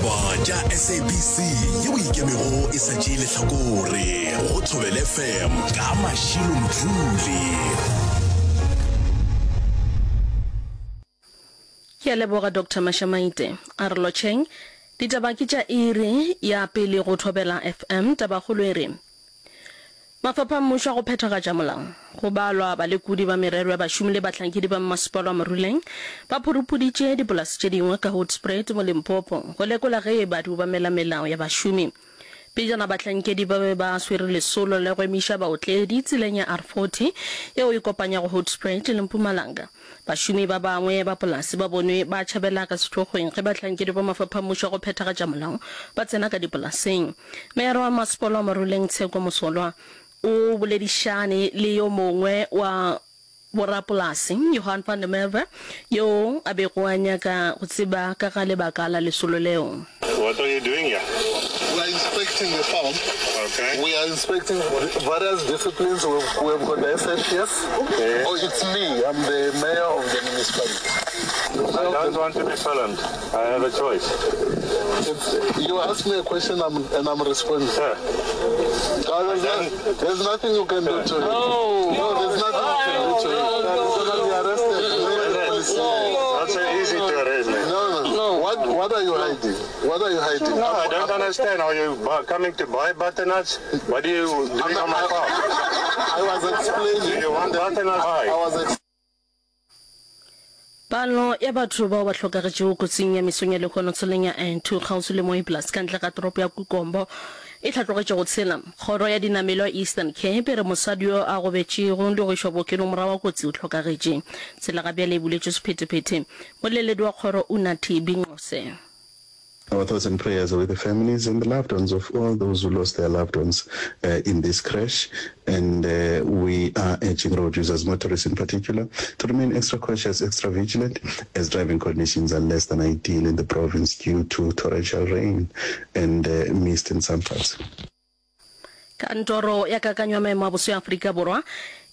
Ditaba tša SABC yeo e ikemego e sa tšee lehlakore go Thobela FM ka Mashilo Mdluli. Ke a leboga Doctor Mashamaite. A re lotšheng. Ditaba ke tša iri ya pele go Thobela FM. Tabakgolo e re, Mafapha a mmušo a go phethagatša molao, go balwa balekodi ba merero ya bašomi le bahlankedi ba mmasepala wa Moruleng ba phurupuditše dipolase tše dingwe ka Hoedspruit mo Limpopo go lekola ge e ba di obamela melao ya bašomi. Pejana bahlankedi ba be ba swere lesolo la go emiša baotledi tseleng ya R40 yeo e kopanyago Hoedspruit le Mpumalanga. Bašomi ba bangwe ba polase ba bonwe ba tšhabela ka sethokgweng ge bahlankedi ba mafapha a mmušo a go phethagatša molao ba tsena ka dipolaseng. Meyara wa masepala wa Maruleng Tsheko Mosolwa o boledišane le yo mongwe wa borapolase, Johan van der Merwe, yoo a bego a nyaka go tseba ka ga lebaka la lesolo leo. What are you doing here? We are inspecting the farm. Okay. We are inspecting various disciplines. We've, we've got the SAPS. Yes. Oh, it's me. I'm the mayor of the municipality. I don't want to be filmed. I have a choice. It's, you ask me a question I'm, and I'm responding. Sir. Uh, there's, no, there's nothing you can do to me. No. No, there's nothing you can do to me. You're gonna be arrested. It's not so easy to arrest me. No, no. No. What, what are you hiding? What are you hiding? No, I don't understand. Are you coming to buy butternuts? What are you doing on my farm? I was explaining. Do you want butternuts? I was Palo ya batho bao ba hlokagetšego kotsing ya mesong ya lehono tseleng ya N2 kgauswi le Mooiplaas ka ntle ga toropo ya Kukombo e hlatlogetše go tshela. Kgoro ya dinamelwa Eastern Cape e re mosadi yo a gobetšego le go išwa bookelong morago ga kotsi o hlokagetše. Tsela ga bjale e buletšwe sephethephethe. Moleledi wa kgoro Unathi Binqose. Our thoughts and prayers are with the families and the loved ones of all those who lost their loved ones uh, in this crash. And uh, we are urging road users, motorists in particular, to remain extra cautious, extra vigilant as driving conditions are less than ideal in the province due to torrential rain and uh, mist in some parts. Kantoro ya Kakanyo ya Maemo a Boso ya Afrika Borwa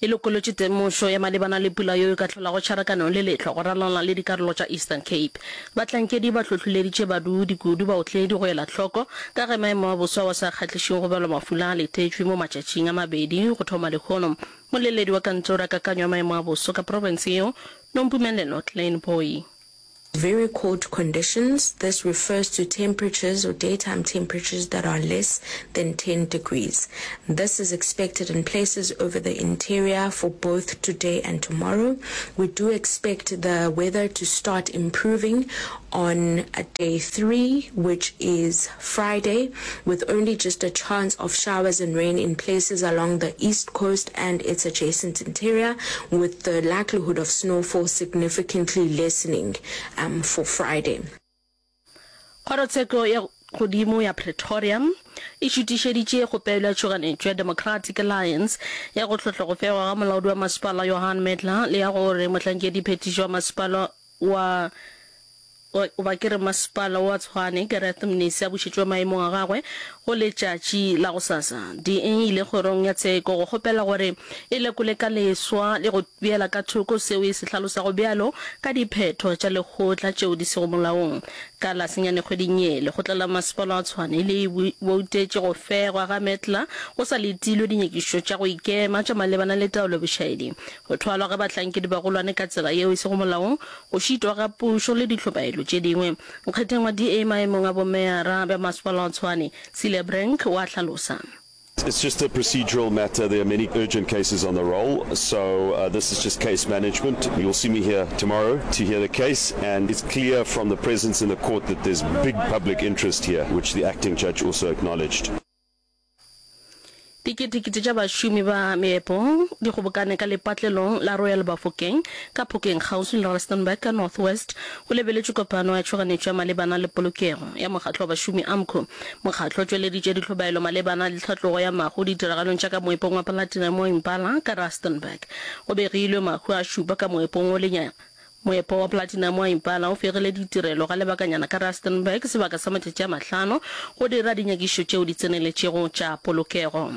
e lokolotše temošo ya malebana le pula yeo e ka hlolago tšharakano le lehlwa go ralala le dikarolo tša Eastern Cape. Bahlankedi ba hlohleleditše badudi, kudu baotledi, go ela hloko ka ge maemo a boso ao a sa kgahlišeng go balwa mafula a letetšwe mo matšatšing a mabedi go thoma lehono. Moleledi wa Kantoro ya Kakanyo ya Maemo a Boso ka profense yeo, Nompumelelo Kleinbooi. Very cold conditions, this refers to temperatures or daytime temperatures that are less than 10 degrees. This is expected in places over the interior for both today and tomorrow. We do expect the weather to start improving on day 3, which is Friday, with only just a chance of showers and rain in places along the east coast and its adjacent interior, with the likelihood of snowfall significantly lessening um, for Friday. Kgorotsheko ya Godimo ya Pretoria e šutišeditše kgopelo ya tšhoganetšo ya Democratic Alliance ya go hlohla go fegwa ga molaodi wa masepala Johan Mettler le ya gore mohlankediphethiši wa masepala wa goba ke re masepala wa Tshwane, Gareth Mnisi a bušetšwe maemong a gagwe go letšatši la gosasa. DA e ile kgorong ya tsheko go kgopela gore e lekole ka leswa le go beela ka thoko seo e se hlalosago bjalo ka diphetho tša lekgotla tšeo di sego molaong. Ka la senyane kgweding ye, lekgotla la masepala wa Tshwane le boutetše go fegwa ga Mettler go sa letilwe dinyakišišo tša go ikema tša malebana le taolo ya bošaedi, go thwalwa ga bahlankedi-bagolwane ka tsela yeo e sego molaong, go šitwa ga pušo le dihlobaelo tše dingwe. Nkgetheng wa DA maemong a bomeyara bja Masepala wa Tshwane, Celia Brink o a hlalosa. It's just a procedural matter, there are many urgent cases on the roll, so this is just case management. You'll see me here tomorrow to hear the case, and it's clear from the presence in the court that there's big public interest here, which the acting judge also acknowledged. Diketekete tša bašomi ba meepo di kgobokane ka lepatlelong la Royal Bafokeng ka Phokeng kgauswi le Rustenburg ka North West go lebeletšwe kopano ya tšhoganetšo ya malebana le polokego ya mokgatlo wa bašomi AMCU. Mokgatlo o tšweleditše dihlobaelo malebana le tlhatlogo ya mahu ditiragalong tša ka moepong wa platinum wa Impala ka Rustenburg. Go begilwe mahu a šupa ka moepong wo lenyaga Moepo wa platinum wa Impala o fegile ditirelo ga lebakanyana ka Rustenburg sebaka sa matšatši a mahlano go dira dinyakišišo tšeo di tseneletšego tša polokego.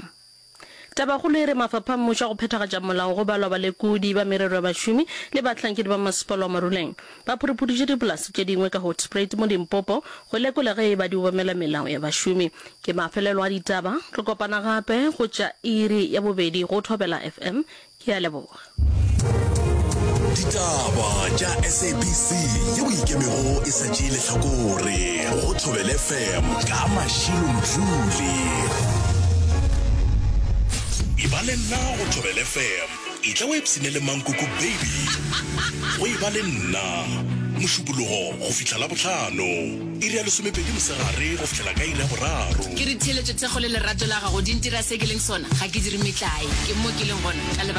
Tabakgolo e re mafapha a mmušo a go phethagatša molao go balwa balekodi ba merero ya bašomi le bahlankedi ba masepala wa Maruleng ba phuruphudiše dipolase tše dingwe ka Hoedspruit mo Limpopo go lekola ge e ba di obamela melao ya bašomi. Ke mafelelo a ditaba. Re kopana gape go tša iri ya bobedi go Thobela FM. Ke a leboga. Ditaba tša SABC yeo e ikemego e sa tšee lehlakore go Thobela FM ka Mashilo Mdluli. E ba le nna go Thobela FM. Etla o ipshine le Mankoko Baby go e ba le nna Mošupologo go fihla Labohlano iri ya lesomepedi mosegare go fihlela ka iri ya boraro. Ke re theeletšo, thekgo le lerato la gago di ntira se ke leng sona. Ga ke dire metlae. Ke mo ke leng gona ka lebaka.